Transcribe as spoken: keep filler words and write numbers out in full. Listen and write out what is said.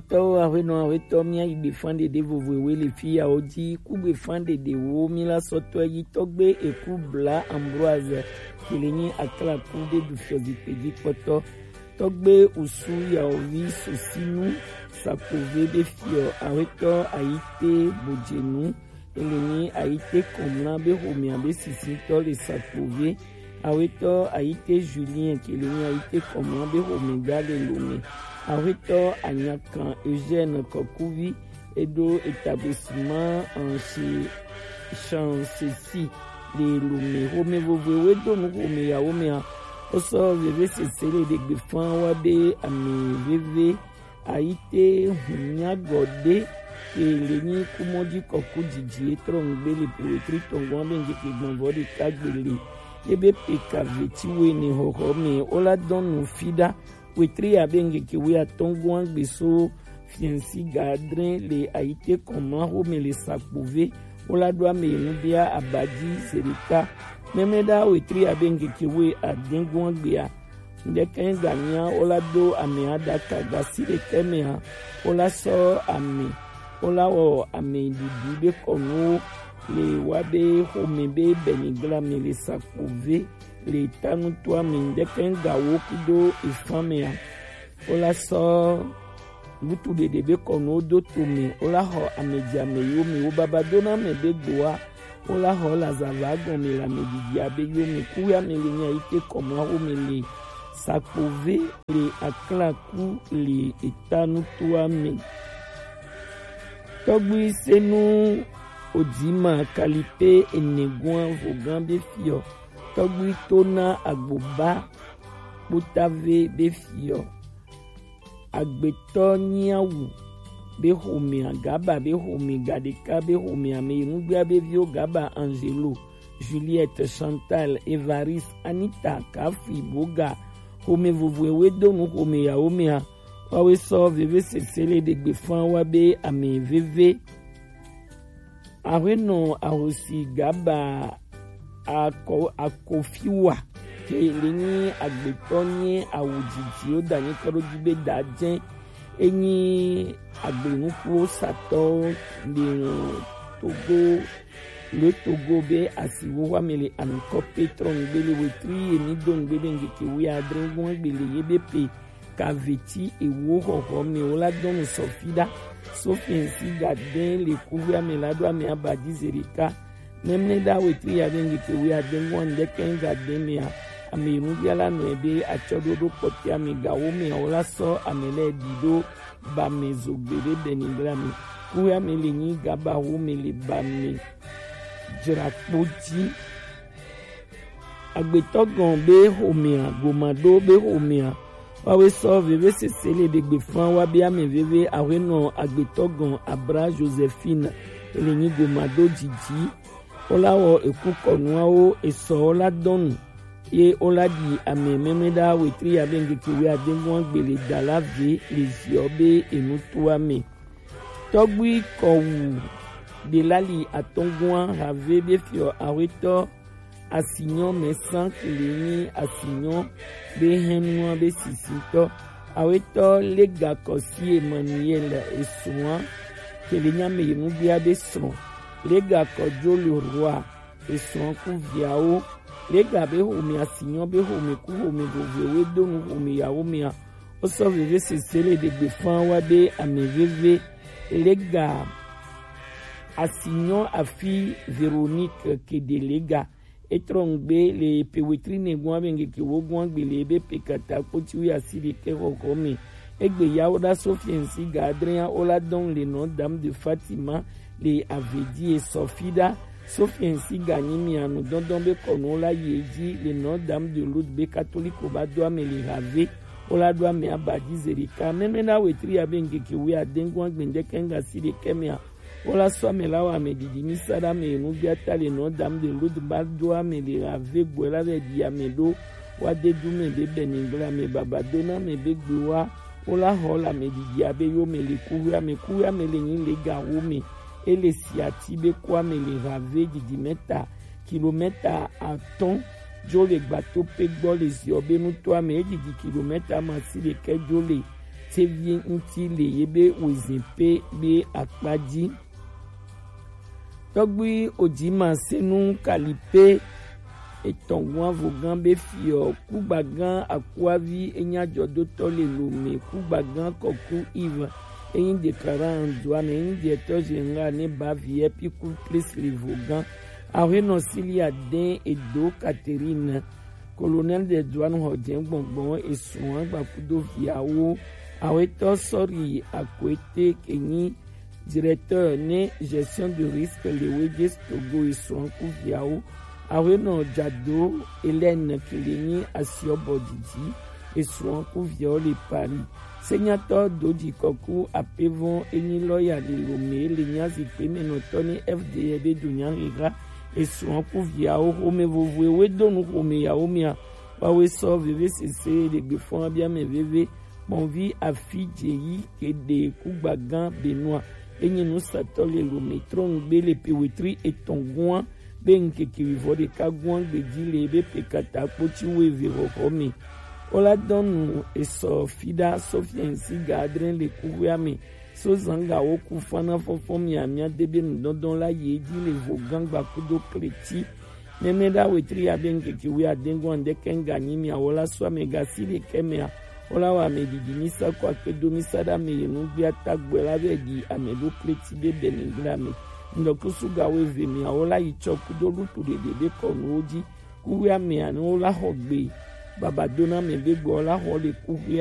Tɔwo, aƒenɔ, aƒetɔ, mía yi gbefan ɖeɖe vovovowo le fi yawo dzi. Ku gbefan ɖeɖewo mí la sɔ tɔ yi tɔgbe eku bla Ambroise, ke le nyi aklaku ɖe ɖu fiɔ zikpui dzi kpɔtɔ. Tɔgbe usu yawo vi susinu sakpove ɖe fiɔ aƒetɔ ayite bojenu. Ele nyi ayite kɔmla be xomea be sisitɔ le sakpove. Awetɔ ayite Julien ke le nyi ayite kɔmla be xomega le lome. Awetɔ anyakan Eugène Kɔkuvi eɖo établissement en chez Chancesi le lome. Xome vovoe do nu xome yawo mea. Wosɔ veve sese le ɖegbe fan wa be ame veve Ayite hunya gɔde ke le nyi kumɔdzi kɔku dzidzi etrɔ ŋgbe le po wetri tɔngɔn be ŋgeke gbɔnvɔ ɖeka gbe le ebe pe ka veti wene xɔxɔ me wola dɔn nu fi ɖa wetri abe ŋgeke we atɔngɔn gbe so fiɛnsi ga adre le ayite kɔmla xome le sakpove wola ɖo ame nu bia abadzi zeɖeka mɛmɛ ɖa wetri abe ŋgeke we adɛngɔn gbea Ŋdɛkɛ gamia wola do ame aɖaka gasi ɖekɛ mea wola sɔ ame wola wɔ ame ɖiɖi be kɔnuwo le wa be xome be bɛnigla me le sakpove le tanutoa me ŋdɛkɛ gawo kudo efan mea wola sɔ Ŋutu ɖeɖe be kɔnuwo do to me, wola xɔ ame dze ame yiwo me wo baba do na ame be gboa, wola xɔ lazava gɔme le ame didi abe yiwo me ku ya me le nya yi ke kɔmla wo me le sakpove le aklaku le eta nutoa me. Tɔgbui senu Odima Kalipe ene gua vogan be fiɔ. Tɔgbui to na agboba kpotave be fiɔ. Agbetɔ nyiawu be xomea, Gaba be xome, Gaɖeka be xomea me yi nugbea be viwo Gaba, Angelo, Juliette, Chantal, Evariste, Anita, Kafi, Boga, xome vovoewo do nu xome yawo mea, woawoe sɔ veve sese le ɖegbe fan wa be ame veve. Ahuenɔ ahosi Gaba ako, Akofiwa ke le nyi agbetɔ nye awu dzidzi wo da nyi kɔ ɖo dzi be da dze enyi agbenukuwo satɔwo le Togo le Togo be asiwo wa me le ankɔ petro ŋgbe le wetri emi do ŋgbe be ŋgeke wi adre gbɔn gbe le ye be pe Kaveti ewo xɔxɔ me wo la dɔnu sɔfi ɖa. Sofiɛnsi ga dɛn le kuxia me la ɖo ame abadi zeɖeka. Mɛmlɛ ɖa wetri ya ɖe ŋgeke wi adɛn gbɔn ŋdɛkɛ ga dɛn mea, ame yi nubia la nɔe be atsɔ ɖo ɖo kpɔtɛa me gawo mea wo la sɔ ame lɛ ɖi ɖo ba me zogbe ɖe bɛnigla me. Kuxia me le nyi gaba wo me le ba me dzrakpo dzi. Agbetɔ gɔn be xomea, gomado be xomea, wawe sɔ veve sese le ɖegbe fan wa be ame veve ahuenɔ agbetɔ gɔn Abra Josephine le nyi gomado dzidzi. Wola wɔ eku kɔnuawo esɔ wola dɔnu ye wola ɖi ame mɛmɛ ɖa wetri ya be ŋgeke wi adɛn gbɔn gbe le da la ve le ziɔ be enu to ame. Tɔgbui kɔwu ɖelali atɔngua have be fiɔ ahuetɔ asinyɔ mɛ san kele nyi asinyɔ be hɛnua be sisitɔ. Ahuetɔ lega kɔsi Emmanuel esua kele nya me yi nugbia be srɔ̃. Lega kɔ jo le roi esrɔ̃ ku viawo. Lega be xome asinyɔ be xome ku xome vovoewo do nu xome yawo mea. Wosɔ veve sese le ɖegbe fan wa be ame veve lega asinyɔ afi Veronique kede lega etrɔ ŋgbe le pe wetri ne gua be ŋgeke wo gua gbe le ebe pe kata kpoti wi asi ɖekɛ xɔxɔ me. Egbe ya wo ɖa Sofiɛnsi ga adrea wo la dɔn le nɔ dam de Fatima le avedie sɔfi ɖa. Sofiɛnsi ga nyi mia nu dɔndɔn be kɔnu wo la yi edzi le nɔ dam de Lourdes be katoliko ba do ame le have. Wola ɖo ame abadi zeɖeka. Mɛmɛ na wetri ya be ŋgeke wi adɛn gbɔn gbe ŋdɛkɛ ŋga si ɖekɛ mea. Wola sɔ ame la wɔ ame didi mi sa ɖe ame yi nugbia ta le nɔ dam de Lourdes ba do ame le have gbɔe la vɛ ɖi ame ɖo. Wa de du me be bɛnigla me baba do na me be gbe wa. Wola xɔ le ame didi abe yo me le kuwe ame kuwe ame le nyi le ga wo me. Ele si ati be ku ame le have didi mɛta kilomɛta atɔn jo le gbato pe gbɔ le ziɔ be nuto ame edidi kilomɛta ma si ɖekɛ jo le Sevi ŋuti le yebe wezin pe be akpa ji. Tɔgbui Ojima Senu Kalipe etɔn gun avogan be fiɔ kugbagan akuavi enya jɔdotɔ le Lome kugbagan kɔku Ive enyi déclarant du ame enyi directeur général ne ba vie pi ku plis le vogan. Awenɔ Silia den edo Catherine, colonel de douane xɔ jɛ gbɔngbɔn esuan gbakudo viawo. Awetɔ Sɔri Akwete kenyi directeur ne gestion de risque le Weje Togo esuan ku viawo. Awenɔ Jado Hélène Kilenyi asiɔbɔ didi esuan ku viawo le Paris. Senyatɔ Doji Kɔku Apevɔn enyi lɔya le Lome le nya zikpe me nɔtɔ ne F D E be do nya hiha esuan ku viawo xome vovo ewe donu xome yawo mia. Wawe sɔ veve sese le gbefɔn abiame veve kpɔnvi afi jeyi kede kugbagan Benoit enyi nusatɔ le Lome trɔngbe le pe wetri etɔn guan be ŋkeke wivɔ ɖeka guan gbeji le be pe kata kpotsi wo eve xɔxɔ me. Wola dɔnu esɔ fida Sofiɛn si ga adre le kuxuea me so zanga wo ku fana fɔfɔ miamia de be nudɔdɔn la yi edzi le vogan gbakudo kleti. Nene ɖa wetri ya be ŋkeke wi adengun andeke ŋga nyi miawo la so amegasi ɖekɛ mea, wola wɔ ame ɖiɖi misa ko akpe do misa ɖe ame yi nugbea tagbɔe la vɛ ɖi ame ɖo kleti be bɛnɛ gble ame. Ŋdɔkusu gawo eve mea, wola yi tsɔ kudo lutu ɖeɖe be kɔnuwo dzi. Kuxi amea ne wola xɔ gbe baba do na ame be gbɔ la xɔ le kuxi